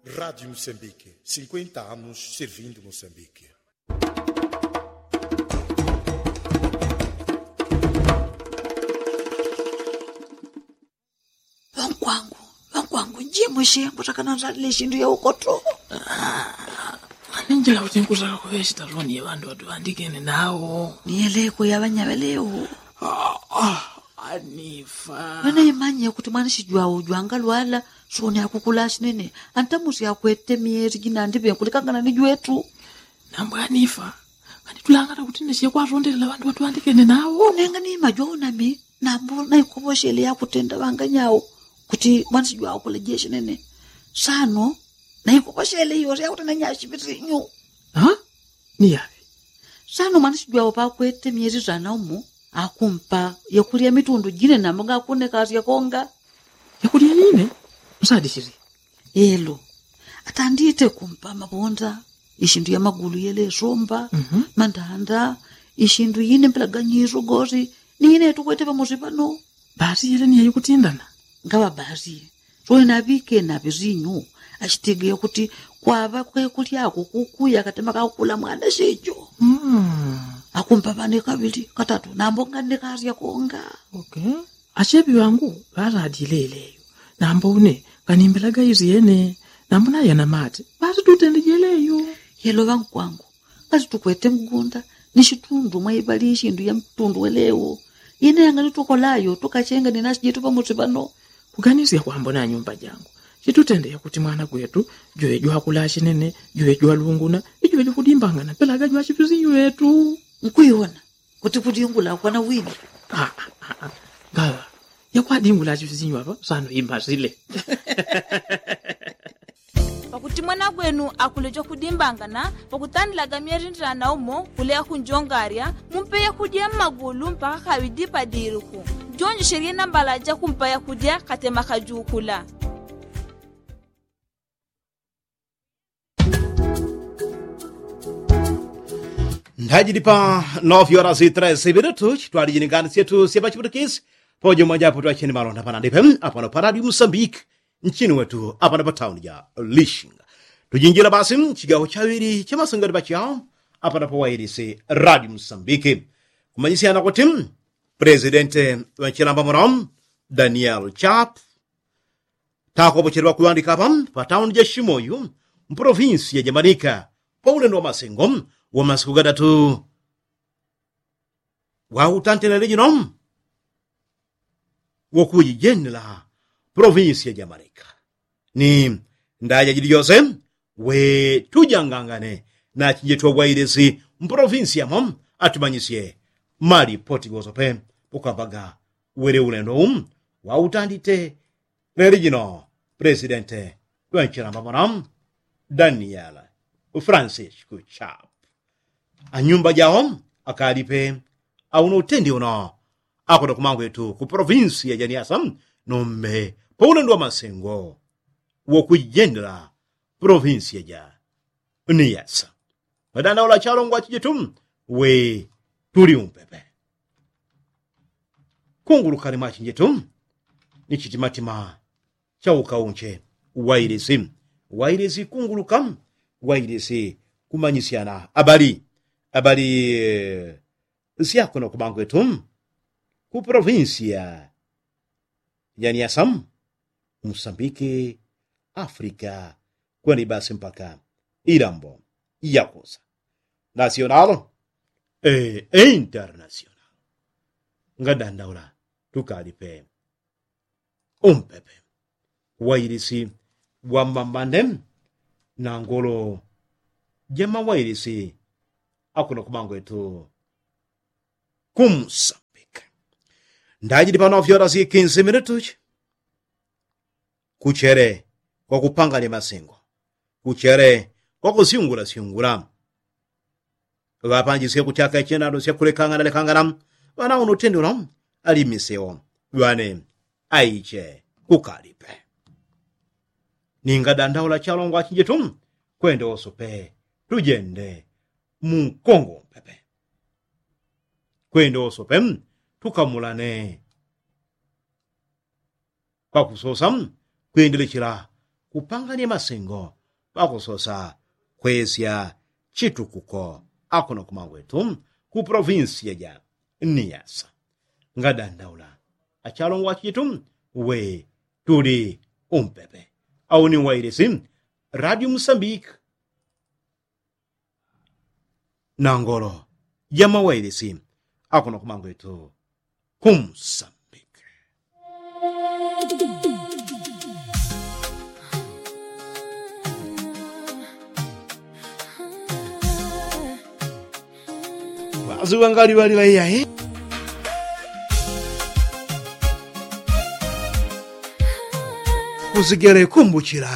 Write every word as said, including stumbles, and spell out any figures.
Rádio Moçambique, cinquenta anos servindo Moçambique. Ŵankwangu, ŵankwangu, njimwe shengo takana nzalile shindu ya ukoto. Aninjila kuti nkusaka kuŵechita loni ya ŵandu ŵatuŵandikene nawo. Niyeleko ya ŵanyaŵelewo. Anifa. Ŵanaimanye kuti mwana shijwawo jwangalwala, soni akukula shinene. Antamusi akwete myeri jinandi ŵenkulikangana ni jwetu. Nambwe anifa. Nganitulangana kuti neshe kwatondelela ŵandu ŵatuŵandikene nawo. Nenga ni majwawo nami, nambo naikoŵoshele yakutenda ŵanganyawo kuti mwana shijwawo kula jeshinene. Sano naikoŵoshele iyo yakutenda nyashipitinyu. Niyaŵe. Sano mwana shijwawo pakwete myeri zana umo, akumpa yakulya mitundu jine nambo ngakuneka asya konga. Yakulya yine? Msadishili. Elo. Atandite kumpa mabonda, ishindu ya magulu yelesomba, mandanda, ishindu yine mpelaganyiso gosi, ni yine tukwete pamosi pano. Basi yele ni yayikutindana. Ngaŵa basi. Soni naŵike naŵe sinyu, ashitigiye kuti kwaŵa kwekulyako kukuya katema kakukula mwana shijo. Akumpa ŵane kaŵili katatu nambo nganekasya konga. Asheŵi ŵangu ŵaladile yeleyo. Nambo une nganimbelaga isyene. Nambo nayana mate ŵatitutende jeleyo. Yelo ŵankwangu, ngati tukwete mgunda ni shitundu mwaiŵali ishindu ya mtundu welewo. Yene yanganitokolayo tukachenga ni nasi jetu pamosi pano. Kuganisya kwambo na nyumba jangu, chitutende yakuti mwana gwetu jwe jwakula shinene, jwe jwalunguna, ijwe jwakudimbangana mpelaga jwachipisinyu ŵetu. Nkuiwona kuti kudingula kwana wini. Ngaŵa yakwadingula achipisinyu apa sano imasile. Pakuti mwana gwenu akule jwakudimbangana, pakutandilaga myeri ndilana umo kuleya kunjongarya, mumpe yakudya mmagulu mpaka kaŵidi padiliku. Jonjeshelye nambala jakumpa yakudya katema kajukula. Ndajili pa nove horas e treze minutos twali jiningani syetu sya pachiputikisi. Pojo mwajapo twacheni malonda panandipe apano pa radio musambiki, nchini wetu apano pa tauni ja lishinga. Tujinjila basi mchigawo chaŵili cha masengati pachao apano pa wailisi radio musambiki. Kumanyisyana kuti presidente wa nchilamba muno daniel chap takopocheleŵa kuŵandika apa pa tauni ja shimoyu, mpolovinsi ya jamanika, pa ulendo wa masengo wa masiku gatatu. Wautantenele jino wokujijenela polovinsi ya jamanika ni ndaja jili jose. We tujangangane na chinjetu wa wailisi mpolovinsi yamo atumanyisye malipoti gosope ukambaga wele ulendo u wautandite. Leli jino presidente ŵanchilamba mwana daniel francisco chap anyumba jao akalipe auno utendi uno akuno kumangwetu ku polovinsi ya janiasa nombe pa ulendo wa masengo wokujendela polovinsi ya ja niyasa. Madandaula chalongwa chijitu we tuli umpepe kungulukani mwachinjetu ni chitimatima cha ukaunche wailisi wailisi kunguluka wailisi kumanyisyana abali abali eh, syakuno kubangwetu ku provinsia ya niasa musambiki afrika kwenda ibasi mpaka ilambo yakusa nasionalo e internasional ngadandaula tukali pe umpepe wailisi wamambande na ngolo jamawailisi akuno kubangwetu kumsambika ndajili pano fyora si kinsi minutuchi kuchele kwakupangani masingo kuchele kwakusyungula syungula ŵapanjisye kuchaka ichinado syakulekangana lekangana ŵana uno tendelo alimiseo ŵane aiche kukalipe ninga dandaula chalongwa chinjitu kwende wosope tujende munkongo mpepe kwende wosope tukamulane kwakusosa kwendelechela kupangania masengo pakusosa kwesya chitukuko akuno kumangwetu ku provinsia ja niyasa. Ngadandaula achalongwa chitu we tuli umpepe auni wailisi radio musambiki nangolo jamawailisi akuno kumangwetu kumsambiki. Waziwa ngaliwalila iyayi kuzigele kumbuchila.